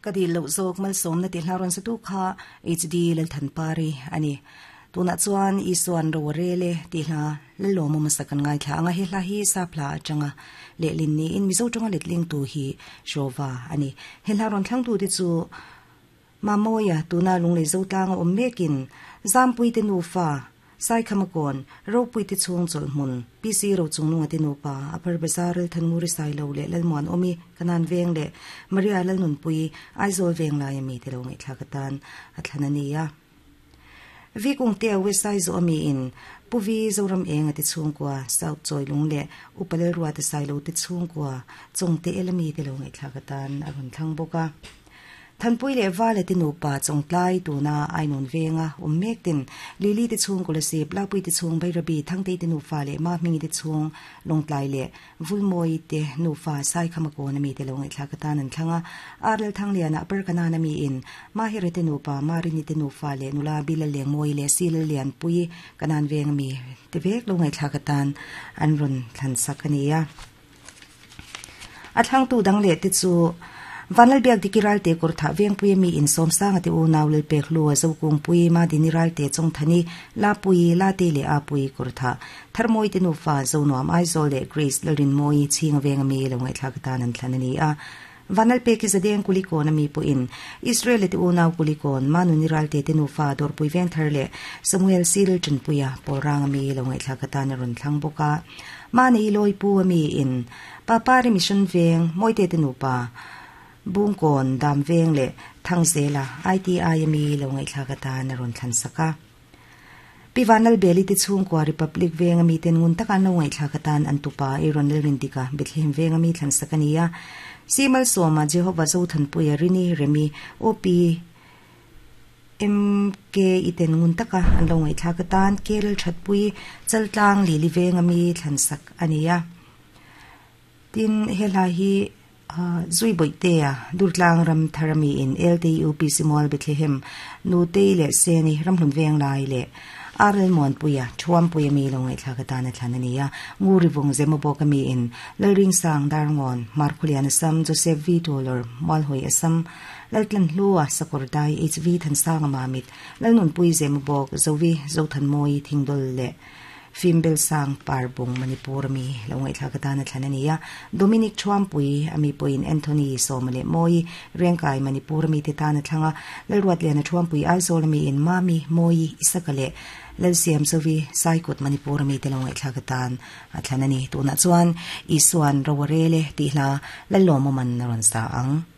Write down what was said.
Ka dil loh zawk malsawmna tih hla rawn satu kha HD Lalthanpari a ni. Tunah chuan Isuan ro a rel e tih hla Lalawma hmasa kan ngaithla ang a, he hla hi sap hla atanga lehlin niin Mizo tawnga letlingtu hi Jova a ni. He hla rawn thlangtute chu Mamawia tuna Lunglei Zotlanga awm mekin Zampuite nufa Saikhamakawn, Ropuite chhung chawlhhmun, PC Rochungnunga te nupa, Upper Bazar Lalthannguri Sailo leh Lalmuanawmi, Kanan Veng leh Maria Lalnunpui, Aizawl Veng laia mite lo ngaihthlak atan a thlan a ni a. Vi Kungtea West Aizaw a miin Pu Vi Zoram Enga te chhungkua, South Chawilung leh Upa Lalruata Sailo te chhungkua, Chawngte Ela mite lo ngaihthlak atan a rawn thlang bawk a. Thanpui leh Vale te nupa Chawngtlai tuna Ainawn venga awm mek ten Lily te chhung Kolasib, Lapui te chhung Bairabi, Thangtei te nufa leh Mahmingi te chhung Lawngtlai leh Vulmawi te nufa Saikhamakawn ami te lo ngaihthlak atan an thlang a. Arlal Thangliana Upper Kanan ami in Mahire te nupa Marini te nufa leh nula Bila Lengmawi leh Silal Lianpui Kanan veng ami te vek lo ngaihthlak atan an rawn thlan sak a ni a. A thlangtu dang leh te chu Vanlalbiak Diki Ralte Kawrthah Vengpui ami Insawmsanga te unau Lalpek Hlua Zokungpui Madini Ralte Chawngthani Lapui Late leh Apui Kawrthah Tharmawi te nufa Zonuam Aizawl leh Grace Lalrinmawi Chhinga Veng ami lo ngaihthlak atan an thlan a ni a. Vanlalpeki Zadeng Kulikawn ami pawhin Israel-a te unau Kulikawn Manuni Ralte te nufa Dawrpui Vengthar leh Samuel Sil Tanpuia Pawlrang ami lo ngaihthlak atan a rawn thlang bawk a. Mahni Lawipu ami in Papari Mission Veng Mawite te nupa Bungkawn Dam Veng leh Thangzela ITI ami lo ngaihthlak atan a rawn thlan sak a. Pi Vanlalbeli te chhungkua Republic Veng ami ten ngun taka an lo ngaihthlak atan an tupa Aaron Lalrindika Bethlehem Veng ami thlan sak a ni a. Si Malsawma Jehovah Zothanpuia Rini Remi OP MK i ten ngun taka an lo ngaihthlak atan Kerel Thatpui Chaltlang Lili Veng ami thlan sak a ni a. Tin, he hla hi Zui Bawihtea, Durtlang ram thar ami in LTUPC Mual Bethlehem, Nutei leh Seni Ramhlun Venglai leh RL Muanpuia, Thuampuia mi lo ngaihthlak atan a thlan a ni a. Nguri Vung Zemabawk ami in Lalringsang Darngawn, Markhulian Assam, Joseph V Tolor, Mualhawi Assam, Laltlanhlua, Sakawrdai, HV Thansanga Mamit, Lalnunpui Zemabawk, Zovi Zothanmawi Thingdawl leh Fimbel sang par bung Manipur ami lo ngaihthlak atan a thlan a ni a. Dominic Thuampui ami pawhin Anthony Sawma leh Mawi Rengkai Manipur ami te tan a thlang a. Lalruatliana Thuampui Aizawl ami in Mami, Mawi, Isaka leh Lalsiam Zovi Saikut Manipur ami te lo ngaihthlak atan a thlan a ni. Tunah chuan Isuan ro a rel e tih hla Lallawmawman a rawn sa ang.